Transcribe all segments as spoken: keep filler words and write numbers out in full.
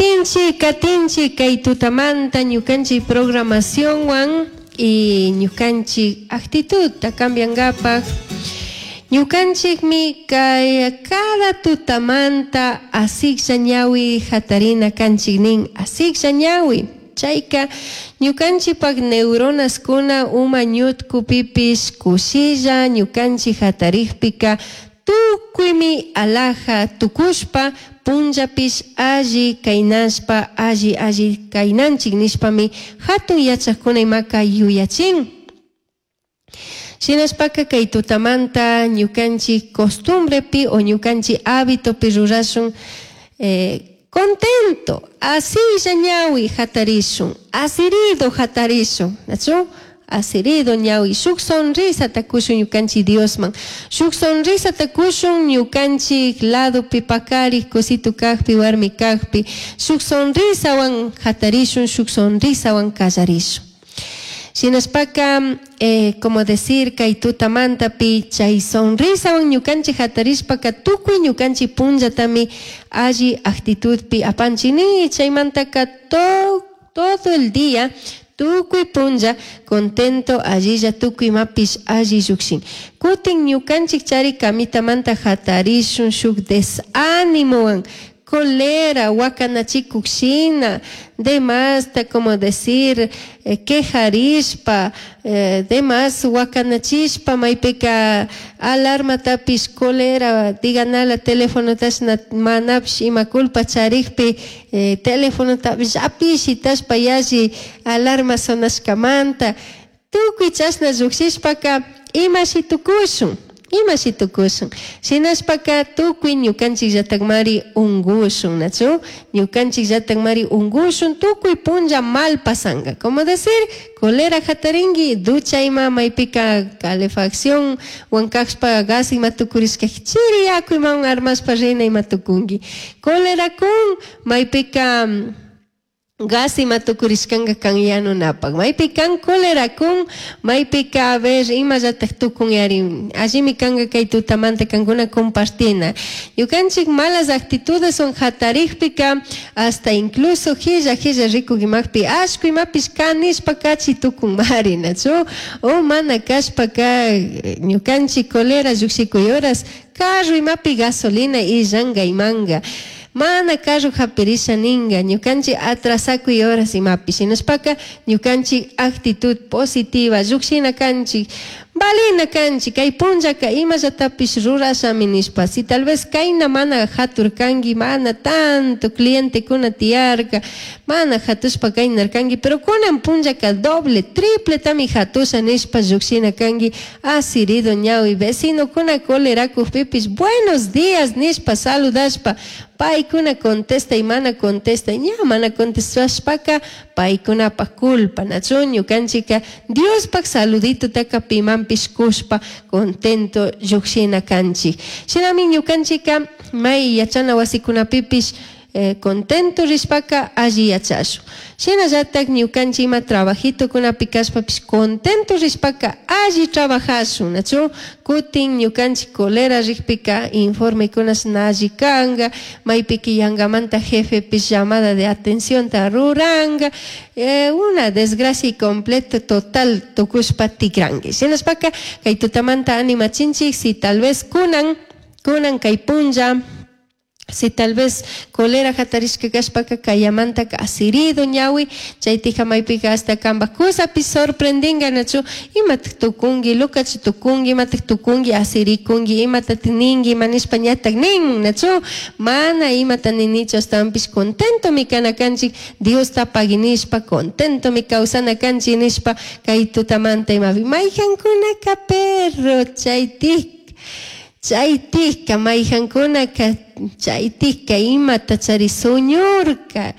Katinchik, katinchik kay tutamanta ñukanchik programacionwan y ñukanchik actitudta cambiankapak. Ñukanchikmi kay cada tutamanta asiklla ñawi hatarina kanchik nin, asiklla ñawi. Chayka ñukanchikpak neuronaskuna uma ñutkupipish kushilla ñukanchik hatarikpika tukuymi alaja tukushpa punllapish alli kaynashpa alli alli kaynanchik nishpami hatun yachakuna imaka yuyachin. Shinashpaka kay tutamanta ñukanchik costumbrepi o ñukanchik hábitopi rurashun eh, contento, asilla ñawi hatarishun, asirido hatarishun, ¿nachu? Asirido ñawi, shuk sonrisa takushun ñukanchik Diosman, shuk sonrisa takushun ñukanchik ladopi pakarik kusitu kakpi warmi kakpi, shuk sonrisawan hatarishun, shuk sonrisawan kallarishun. Shinashpaka, eh, como decir, kay tutamantapi chay sonrisawan ñukanchik hatarishpaka tukuy ñukanchik punllatami alli actitudpi apanchik ni chaymantaka to, todo el día tukuy punlla contento allilla tukuy imapish alli llukshin. Kutin ñukanchik chari kamitamanta hatarishun shuk desánimowan colera, wakanachikuk shina, demasta, como decir, eh, quejarishpa, eh, demás wakanachishpa, maypika alarmatapish colera, diganala telefonotashna manapish ima culpa charikpi, eh, telefonotapish apish shitashpa yalli alarma sonashkamanta, tukuy chashna llukshishpaka imashi tukushun. Imashi tukushun. Shinashpaka tukuy ñukanchik llatakmari ungushun, ¿nachu? Ñukanchik llatakmari ungushun, tukuy punlla mal pasanga. Como decir, colera hataringi, ducha ima maypika calefacción, wankashpa gas ima tukurishka, chiri yaku imawan armashpa rina ima tukungi. Colera kun maypika gas ima tukurishkanka kan yanunapak. Maypi kan cólera kun, maypika a ver imallatak tukun yari. Allimi kanka kay tutamanta kankuna compartina. Ñukanchik malas actitudes son hatarikpika hasta incluso hilla hilla rikukimakpi ashku imapish kanishpa kachi tukun mari, nachu? O mana kashpaka ñukanchik colera llukshikuy horas carro imapi gasolina illanka imanga. Mana carro hapirisha ninga, ñukanchik atrasakuy horas imapi. Shinashpaka ñukanchik actitud positiva, llukshina kanchik, valina kanchik, kay punllaka imallatapish rurashami nishpa. Si tal vez kayna mana haturkanki, mana tanto clientekuna tiyarka, mana hatushpa kaynarkanki, pero kunan punllaka doble, triple tami hatusha nishpa llukshina kanki, asirido ñawi, vecinokuna colerakukpipish buenos días nishpa saludashpa, paykuna contesta y mana contesta, ña mana contestashpaka paykunapak culpa, nachu ñukanchika Diospak saludito taka pimanpish kushpa contento llukshina kanchik. Shinami ñukanchika may yachana wasikunapipish eh, contento rishpaka alli yachashun. Shinallatak ñukanchik ima trabajitokunapi kashpapish contento rishpaka alli trabajashun, nachu? Kutin ñukanchik colera rikpika informekunash na alli kanka, maypika yangamanta jefepish llamada de atención ta ruranka, eh, una desgracia y completo total tukushpa tikranki. Shinashpaka kay tutamanta animachinchik si tal vez kunan, kunan kay punlla, si tal vez colera hatarishka kashpaka kayamantaka asirido ñawi, chaytika maypika hasta kampak kusapi sorprendinga, nachu? Imatak tukunki, lukachu tukunki, imatak tukunki, asirikunki, imatak ninki, ima nishpa ñatak nin, nachu? Mana imata ninichu, ashtawanpish contentomi kana kanchik, Diosta pagui nishpa, contentomi kawsana kanchik nishpa, kay tutamanta imapi mayjankunaka perro, chaytik, chaytikka mayjankunaka chaytikka imata chari suñurka,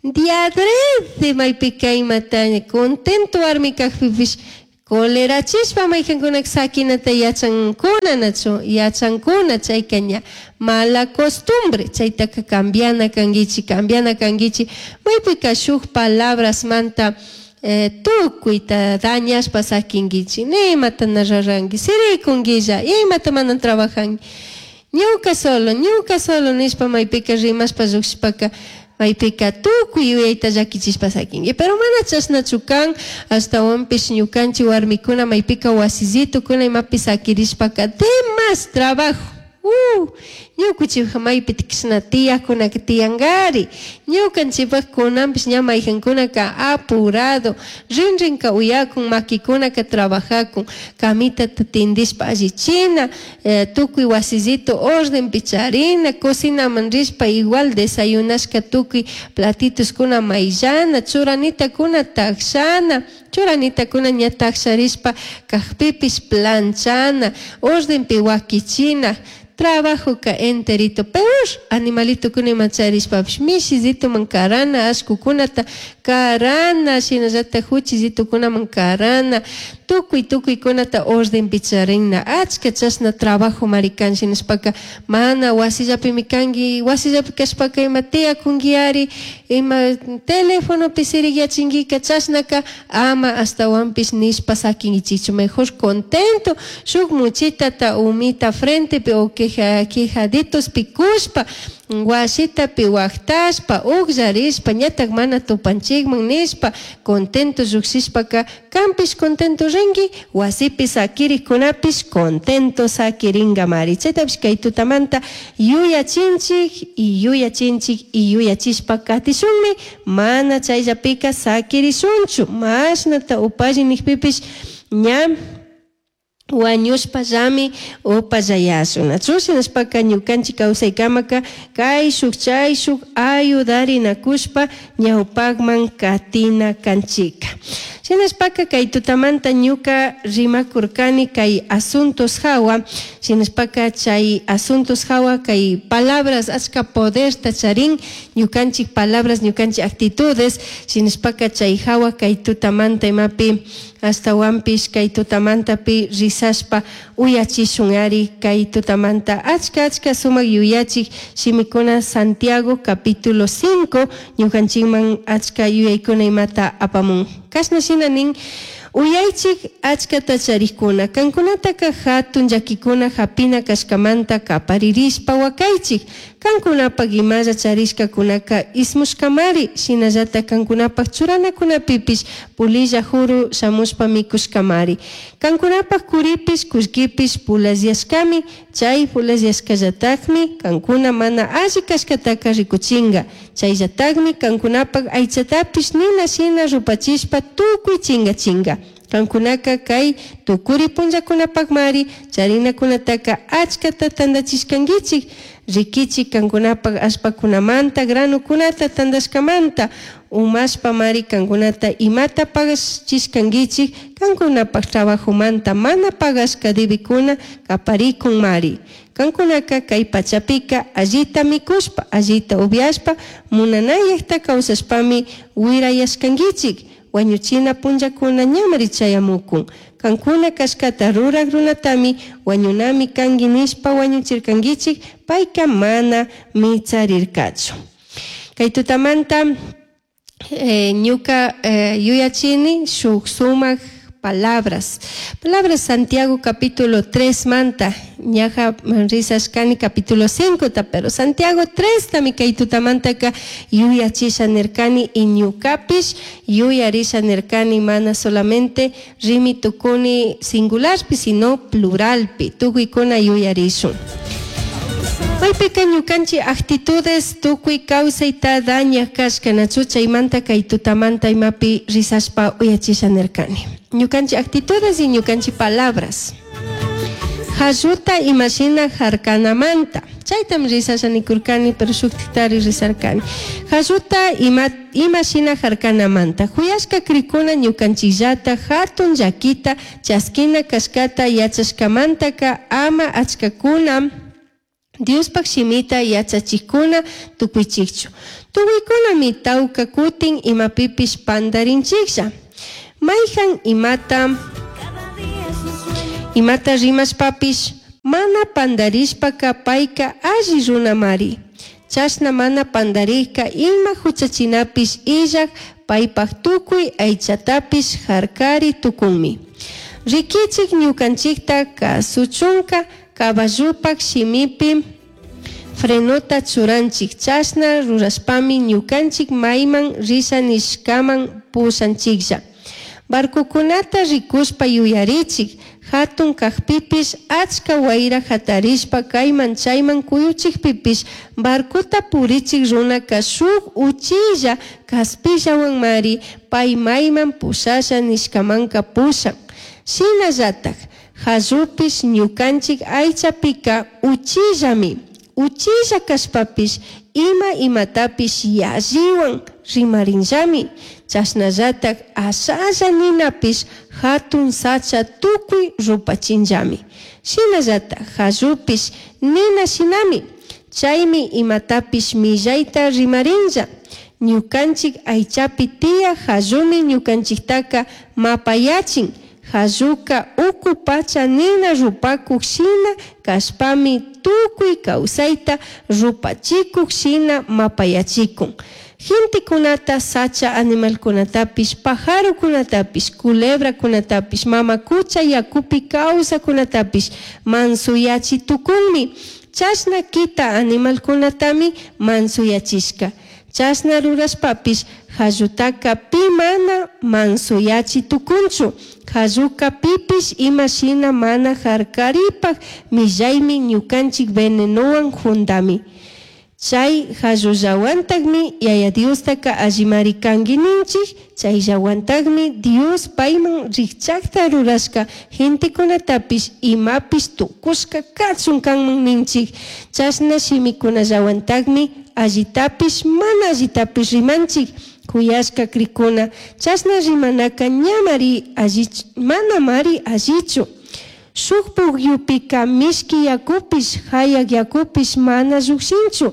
diadrede maypika imata contento warmi kakpipish colerachishpa mayjankunaka sakinata yachankuna, nachu? Yachankuna, chayka ña mala costumbre, chaytaka cambiana kankichik, cambiana kankichik, maypika shuk palabrasmanta eh, tukuyta dañashpa sakinkichik, nimata na ruranki, sirikunkilla, imata mana trabajanki, ñuka solo, ñuka solo nishpa maypika rimashpa llukshishpaka maypika tukuy yuyayta llakichishpa sakinki. Pero mana chashnachu kan, ashtawanpish ñukanchik warmikuna maypika wasillitokuna imapi sakirishpaka demas trabajo. Uh, ñukuchik maypi kishna tiyakunaka tiyankari. Ñukanchikpak kunanpish ña mayjankunaka apurado, rinrinka uyakun, makikunaka trabajakun, camitata tindishpa allichina, eh, tukuy wasillito ordenpi charina, cocinaman rishpa igual desayunashka tukuy platitoskuna mayllana, churanitakuna takshana, churanitakuna ña taksharishpa kakpipish planchana, ordenpi wakichina, trabajo ka enterito peor animalito kuna ima charishpapish mishillituman karana, ashkukunata karana, shinallata huchillitukunaman karana, tukuy tukuykunata ordenpi charina, achka chashna trabajo mari kan. Shinashpaka mana wasillapimi kanki, wasillapi kashpaka ima tiyakunkiari, ima telefonopi siriyachinkika, chashnaka ama ashtawanpish nishpa sakinkichikchu. Mejor contento shuk muchitata umita frentepi o queja, quejaditospi kushpa wasitapi waqtashpa uqllarishpa ñatak mana tupanchikman nishpa contento lluqshishpaka kanpish contento rinki, wasipi sakirikkunapish contento sakirinkamari. Chaytapish kay tutamanta yuyachinchik y yuyachinchik y yuyachishpa katishunmi, mana chayllapika sakirishunchu. Mashnata upalli nikpipish ña wañushpallami upallayashun. Nachu shinashpaka ñukanchik kawsaykamaka kayshuk chayshuk ayudarinakushpa ñawpakman katina kanchika. Shinashpaka kay tutamanta ñuka rimakurkani kay asuntos hawa, shinashpaka chay asuntos hawa kay palabras achka poderta charin, ñukanchik palabras, ñukanchik actitudes, shinashpaka chay hawa kay tutamanta imapi ashtawanpish kay tutamantapi risashpa uyachishun ari kay tutamanta achka achka sumak yuyachik shimikuna Santiago capítulo cinco ñukanchikman achka yuyaykuna imata apamun. Kashna shina nin uyaychik achkata charikuna kankunataka hatun llakikuna hapina kashkamanta kaparirishpa wakaychik, kankunapak imalla charishkakunaka ismushkamari, shinallata kankunapak churanakunapipish pulilla juru shamushpa mikushkamari, kankunapak kuripish kullkipish pulasyashkami, chay pulasyashkallatakmi kankuna mana alli kashkataka rikuchinka, chayllatakmi kankunapak aychatapish nina shina rupachishpa tukuy chinkachinka. Kankunaka kay tukuri punllakunapakmari charinakunataka achkata tantachishkankichik, rikichik kankunapak allpakunamanta granukunata tantashkamanta umashpamari kankunata imata pagachishkankichik, kankunapak trabajomanta mana pagashka debikuna kaparikunmari. Kankunaka kay pachapika allita mikushpa, allita upiashpa, munanayakta kawsashpami wirayashkankichik. Wañuchina punllakuna ñamari chayamukun. Kankuna kashkata rurak runatami wañunami kanki nishpa wañuchirkankichik, payka mana mitsarirkachu. Kay tutamanta eh, ñuka eh, yuyachini shuk sumak palabras. Palabras Santiago capítulo tres manta, ñaja risashkani capítulo cinco ta, pero Santiago tres tami kay tutamantaka yuyachisha nirkani y ñukapish yuyarisha nirkani, mana solamente rimi tukuni singularpi, sino pluralpi, tukuykuna yuyarishun. Maypika ñukanchik actitudes tukuy kawsayta dañak kashka nachu, chaymanta kay tutamanta imapi risashpa uyachisha nirkani. Ñukanchik actitudes y ñukanchik palabras. Halluta imashina harkanamanta. Chaytam risasha nikurkani, pero shuktiktari risarkani. Halluta ima, imashina harkanamanta. Huyashka krikuna ñukanchikllata hatun llakita chaskina kashkata yachashkamantaka ama achkakuna Diospak shimita yachachikuna tukuychikchu. Tukuykunami tawka kutin imapipish pandarinchiklla. Mayjan imata, imata rimashpapish mana pandarishpaka payka alli runamari. Chashna mana pandarikka ima huchachinapish illak paypak tukuy aychatapish harkari tukunmi. Rikichik ñukanchikta kasuchunka caballupak shimipi frenota churanchij. Chashna rurashpami ñucanchij maiman risha nishcaman pushanchijlla. Barcocunata ricushpa yuyarichij. Jatun cajpipish, achca huaira jatarishpa caiman chaiman cuyuchijpipish, barcota purichij runaca shuj uchilla caspillahuanmari pai maiman pushasha nishcamanca pushan. Shinallataj jallupish ñucanchij aichapica uchillami. Uchilla cashpapish ima imatapish yallihuan rimarinllami. Chashnallataj ashalla ninapish jatun sacha tucui rupachinllami. Shinallataj jallupish nina shinami. Chaimi imatapish millaita rimarinlla. Ñucanchij aichapi tiyaj jallumi ñucanchijtaca mapayachin. Jalluca ucu pacha nina rupacuj shina cashpami tucui causaita rupachicuj shina mapayachicun. Gentecunata, sacha animalcunatapish, pajarocunatapish, culebracunatapish, mama cucha yacupi causacunatapish mansoyachi tucunmi. Chashna quita animalcunatami mansoyachishca. Chashna rurashpapish jallutaca pi mana mansoyachi tucunchu. Jalluca pipish ima shina mana jarcaripaj millaimi ñucanchij venenohuan jundami. Chay jallullahuantajmi Yaya Diostaca allimari cangui ninchij, chayllahuantajmi Dios paiman rijchajta rurashca gentecunatapish imapish tucushca cachun canman ninchij. Chashna shimicunallahuantajmi allitapish mana allitapish rimanchij. Juyashca cricuna, chashna rimanaca ñamari allich, manamari allichu. Shuj pugyupica mishqui yacupish, jayaj yacupish mana llujshinchu.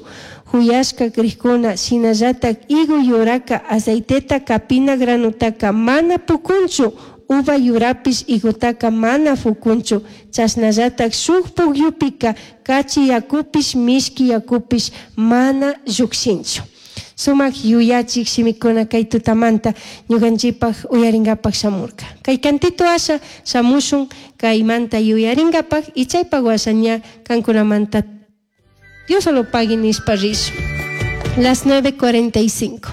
Juyashca cricuna, shinallataj higo yuraca aceiteta capina granutaca mana pucunchu, uva yurapish higotaca mana fucunchu. Chashnallataj shuj pugyupica cachi yacupish, mishqui yacupish mana llujshinchu. Sumak yuyachik shimikuna kay tutamanta ñukanchikpak uyarinkapak shamurka. Kay cantito asha shamushun kaymanta yuyarinkapak y chaypak washa ña kankunamanta Dios solo pague nishpa rishun. Las nueve cuarenta y cinco.